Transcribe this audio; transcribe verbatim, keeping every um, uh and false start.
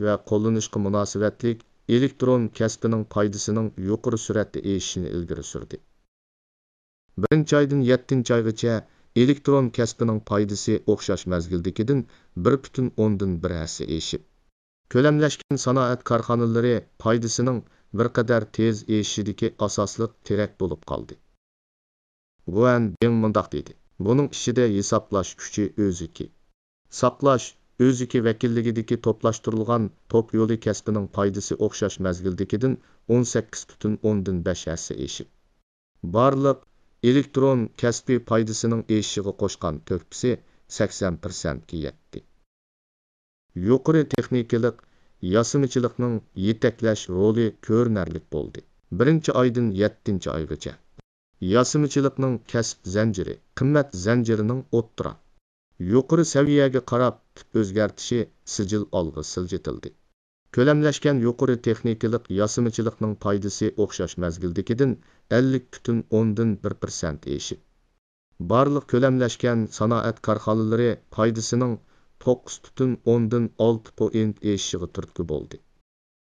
ۋە قوللىنىشقا مۇناسىۋەتلىك ئېلېكترون كەسپىنىڭ پايدىسىنىڭ يۇقىرى سۈرئەتتە ئېشىشىنى ئىلگىرى سۈردى. بىرىنچى ئايدىن يەتتىنچى ئايغىچە ئېلېكترون كەسپىنىڭ پايدىسى ئوخشاش مەزگىلدىكىدىن بىر پۈتۈن ئوندىن بىر ھەسسە ئېشىپ، كۆلەملەشكەن سانائەت كارخانىلىرى پايدىسىنىڭ بىر قەدەر تېز ئېشىشىدىكى ئاساسلىق تىرەك بولۇپ قالدى. گۇەن بىڭ مۇنداق دېدى: بۇنىڭ ئىچىدە ھېسابلاش كۈچى ئۆزىكى، ساقلاش ئۆزىكى ۋەكىللىكىدىكى توپلاشتۇرۇلغان توك يولى كەسپىنىڭ پايدىسى ئوخشاش مەزگىلدىكىدىن ئون سەككىز پۈتۈن ئوندىن بەش ھەسسە ئېشىپ، بارلىق ئېلېكترون كەسپى پايدىسىنىڭ ئېشىشىغا قوشقان تۆھپىسى سەكسەن پىرسەنتكە يەتتى. يۇقىرى تېخنىكىلىق ياسىمىچىلىقنىڭ يېتەكلەش رولى كۆرۈنەرلىك بولدى. بىرىنچى ئايدىن يەتتىنچى ئايغىچە ياسىمىچىلىقنىڭ كەسىپ زەنجىرى، قىممەت زەنجىرىنىڭ ئوتتۇرا، يۇقىرى سەۋىيەگە قاراپ تىپ ئۆزگەرتىشى سىجىل ئالغا سىلجىتىلدى. كۆلەملەشكەن يۇقىرى تېخنىكىلىق ياسىمىچىلىقنىڭ پايدىسى ئوخشاش مەزگىلدىكىدىن ئەللىك پۈتۈن ئوندىن بىر پىرسەنت ئېشىپ، بارلىق كۆلەملەشكەن سانائەت كارخانىلىرى پايدىسىنىڭ توققۇز پۈتۈن ئوندىن ئالتە پوئىنت ئېشىشىغا تۈرتكە بولدى.